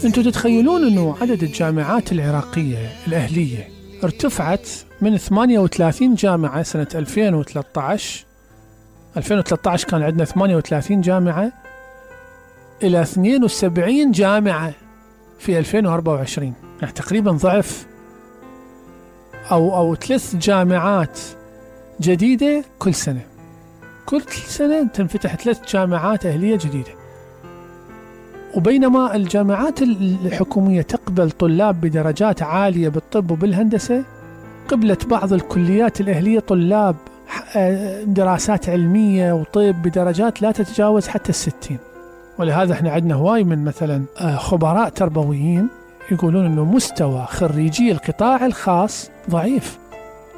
انتم تتخيلون انه عدد الجامعات العراقية الأهلية ارتفعت من 38 جامعة سنة 2013 كان عندنا 38 جامعة إلى 72 جامعة في 2024، يعني تقريبا ضعف أو 3 جامعات جديدة كل سنة. كل سنة تنفتح 3 جامعات أهلية جديدة. وبينما الجامعات الحكومية تقبل طلاب بدرجات عالية بالطب وبالهندسة، قبلت بعض الكليات الأهلية طلاب دراسات علمية وطب بدرجات لا تتجاوز حتى 60. ولهذا احنا عندنا هواي من مثلا خبراء تربويين يقولون انه مستوى خريجي القطاع الخاص ضعيف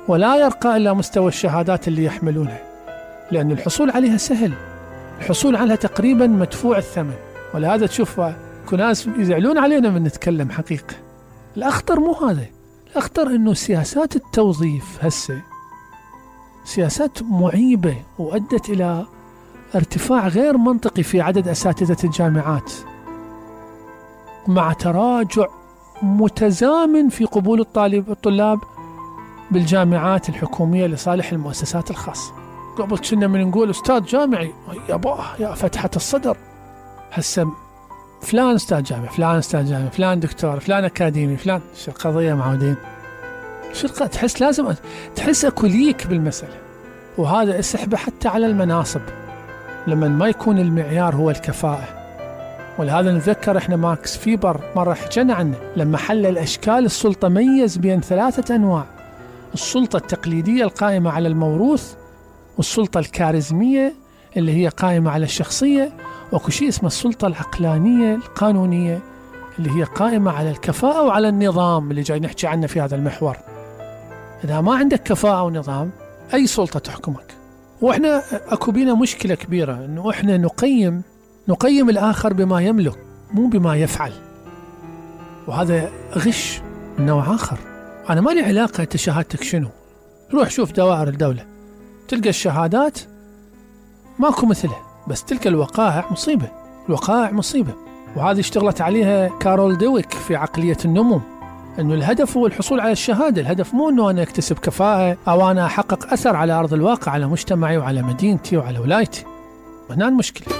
ولا يرقى إلى مستوى الشهادات اللي يحملونها، لأن الحصول عليها سهل، الحصول عليها تقريبا مدفوع الثمن. ولهذا تشوف ناس يزعلون علينا من نتكلم حقيقة. الأخطر مو هذا، الأخطر إنه سياسات التوظيف هسه سياسات معيبة وأدت إلى ارتفاع غير منطقي في عدد أساتذة الجامعات، مع تراجع متزامن في قبول الطلاب بالجامعات الحكومية لصالح المؤسسات الخاصة. قبل كنا من نقول أستاذ جامعي يا فتحة الصدر، هسه فلان أستاذ جامعي، فلان أستاذ جامعي، فلان دكتور، فلان أكاديمي، فلان. شو القضية معودين؟ تحس لازم تحس أكو ليك بالمسألة. وهذا يسحب حتى على المناصب لما ما يكون المعيار هو الكفاءة. ولهذا نتذكر احنا ماكس فيبر مرة حكينا عنه لما حلل أشكال السلطة، ميز بين 3 أنواع: السلطة التقليدية القائمة على الموروث، والسلطة الكاريزمية اللي هي قائمة على الشخصية، وكل شيء اسمه السلطة العقلانية القانونية اللي هي قائمة على الكفاءة وعلى النظام اللي جاي نحكي عنه في هذا المحور. إذا ما عندك كفاءة ونظام أي سلطة تحكمك. وإحنا أكو بينا مشكلة كبيرة، إنه إحنا نقيم الآخر بما يملك مو بما يفعل، وهذا غش من نوع آخر. أنا ما لي علاقة أنت شهادتك شنو، روح شوف دوائر الدولة تلقى الشهادات ماكو مثلها، بس تلك الوقائع مصيبة. الوقائع مصيبة، وهذه اشتغلت عليها كارول دويك في عقلية النمو، أنه الهدف هو الحصول على الشهادة، الهدف مو أنه أنا أكتسب كفاءة أو أنا أحقق أثر على أرض الواقع على مجتمعي وعلى مدينتي وعلى ولايتي. هنا المشكلة.